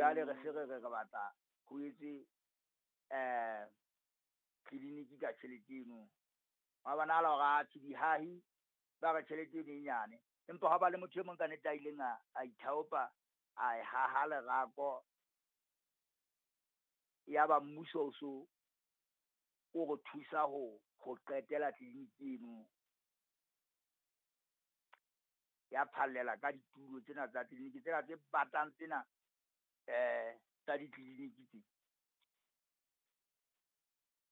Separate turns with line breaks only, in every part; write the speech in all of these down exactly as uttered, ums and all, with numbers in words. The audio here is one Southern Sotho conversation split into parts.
Jwale re se re re re batla ho etswe eh tleliniki ka tjhelete eno. Hwa bonahala hore atjhe dihahi ba re tjhelete eno e nyane. Empa hwa ba le motho e mong ka nnete a ileng a a ithaopa a e haha lerako. Ya ba mmuso o so o re thusa ho ho qetela tleliniki eno. Ya phallela ka ditulo tsena tsa tleliniki tsena tse batang tsena eh tsa ditleliniki tse.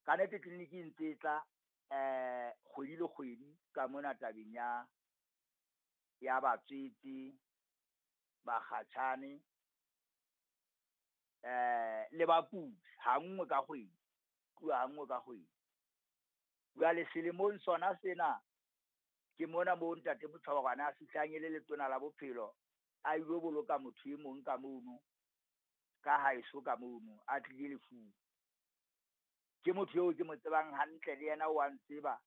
Ka nnete tleliniki e ntse e tla eh kgwedi le kgwedi ka mona tabeng ya ya batswetse, bakgatjhane, eh le bakudi ha nngwe ka kgwedi, tluwa ha nngwe ka kgwedi. Jwale selemong sona sena ke mona moo ntate Mochoboroane a fihlang e le letona la bophelo, a ilo boloka motho e mong ka mono, ka haeso ka mono, a tlile lefung. Ke motho eo ke mo tsebang hantle le yena wa ntseba.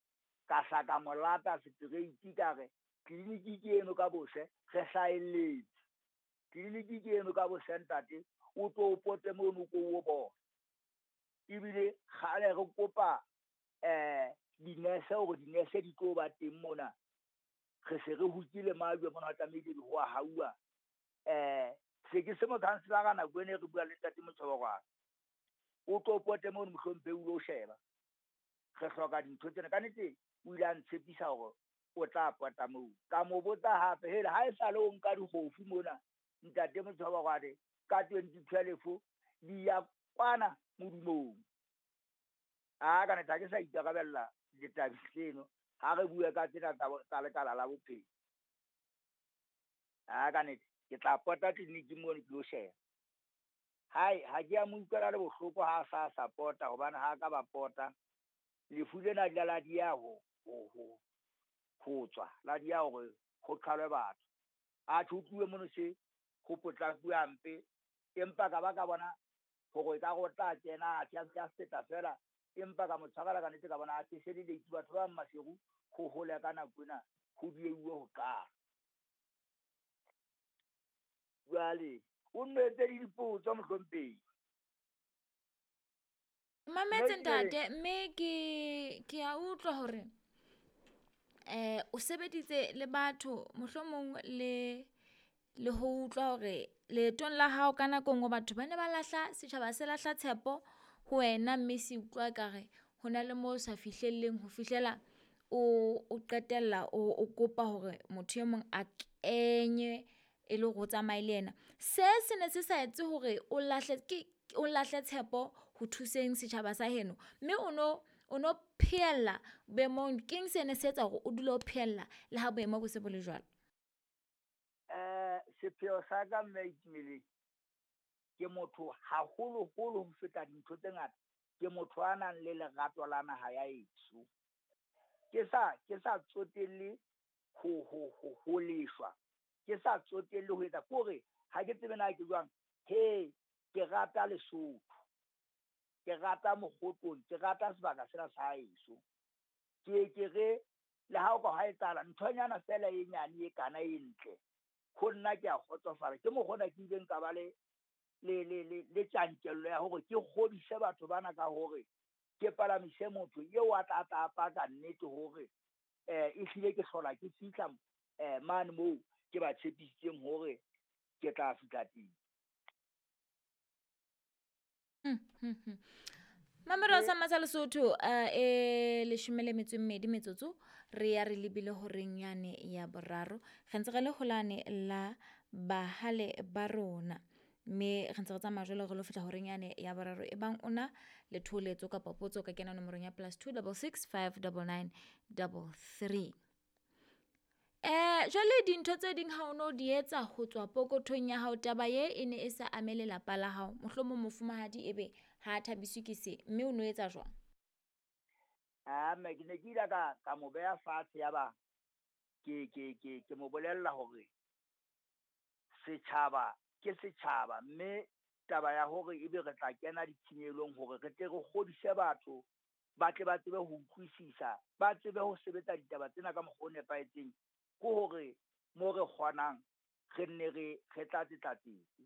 Ka hla ka mo lata straight ka re tleliniki ke eno ka bose, re hlahelletse. Tleliniki ke eno ka bose ntate, o tlo o pote mono o ko o bone. Ebile kgale re kopa eh dinese hore dinese di tlo ba teng mona. Re se re hokile majwe mona ho tlamehile ho a hauwa. Eh se ke se mokhanselara nako ena e re bua le ntate Mochoboroane. O tlo pote mono mohlomphehi o lo sheba. Re hloka dintho tsena. Ka nnete o ile a ntshepisa hore o tla pota moo. Ka mo botsa hape, hele ha e sale o nka dikgofu mona ntate Mochoboroane ka twenty twelve di ya kwana modumong. A ka nnete ha ke sa ikarabella ditabeng tseno ha re bue ka tsena tsa tsa lekala la bophelo. A ka nnete ke tla pota tleliniking mono ke lo sheba. Hai ha ke a mo utlwela le bohloko ha a sa sa pota hobane ha ka ba pota. Lefu lena le la dieha ho ho ho ho tswa, la dieha hore ho qhalwe batho. Atjhe ho tluwe mono se ho potlakuwe hampe, empa ka ba ka bona hore ekare o tla kena atjhe a ntse a feta feela, empa ka mo tshwarela ka nnete ka bona atjhe se le late batho ba bang Maseru ho hole ka nako ena ho dieuwe ho qala. Jwale o nno etse le dipotso mohlomphehi.
Mametse ntate, mme ke ke a utlwa hore eh o sebeditse le batho mohlomong le le ho utlwa hore leetong la hao ka nako e nngwe batho ba ne ba lahla setjhaba se lahla tshepo ho wena, mme se utlwa ekare ho na le mo sa fihlelleng ho fihlela o o qetella o o kopa hore motho e mong a kenye e le hore o tsamaye le yena. Se se ne se sa etse hore o lahle ke o lahle tshepo ho thuseng setjhaba sa heno, mme o no o no phehella boemong. Keng se ne se etsa hore o dule o phehella le ha boemo bo se bo le jwalo?
Eh sepheo sa ka mme Itumeleng, ke motho haholoholo ho feta dintho tse ngata, ke motho a nang le lerato la naha ya heso. Ke sa ke sa tsotelle ho ho ho ho leshwa, ke sa tsotelle ho etsa ke hore ha ke tsebe na ke jwang. He ke rata Lesotho, ke rata Mokgotlong, ke rata sebaka sena sa heso. Ke ke re le ha o ka hwa etsahala nthonyana feela e nyane e kana e ntle, ho nna ke a kgotsofala. Ke mokgwa ona ke ileng ka ba le le le le le tjantjello ya hore ke kgodise batho bana ka hore ke palamise motho eo a tla tla paka nnete hore eh ehlile ke hlola ke fihla eh mane moo ke ba tshepisitseng hore ke tla fihla teng.
Hmm, hmm, hmm. Mamelo sa Matsa Lesotho eh e leshome le metso e mmedi metsotso re ya re lebile horeng yane ya boraro. Re ntse re le holane la bahale ba rona, mme re ntse re tsamaya jwalo re lo fihla horeng yane ya boraro. E bang ona le thoholetso kapa potso ka kena nomorong ya plus two double six five double nine double three. Eh jwale dintho tse ding ha o no di etsa ho tswa pokothong ya hao, taba ye e ne e sa ame lelapa la hao, mohlomong mofumahadi ebe ha a thabiswe ke se, mme o no etsa jwang?
Ah mme ke ne ke ile ka ka mo beha fatshe ya ba ke ke ke ke mo bolella hore setjhaba ke setjhaba, mme taba ya hore ebe re tla kena ditshenyehelo hore re tle re kgodise batho ba tle ba tsebe ho utlwisisa, ba tsebe ho sebetsa ditaba tsena ka mokgwa o nepahetseng, ke hore mo re kgonang re nne re re tlatse tlatsetse.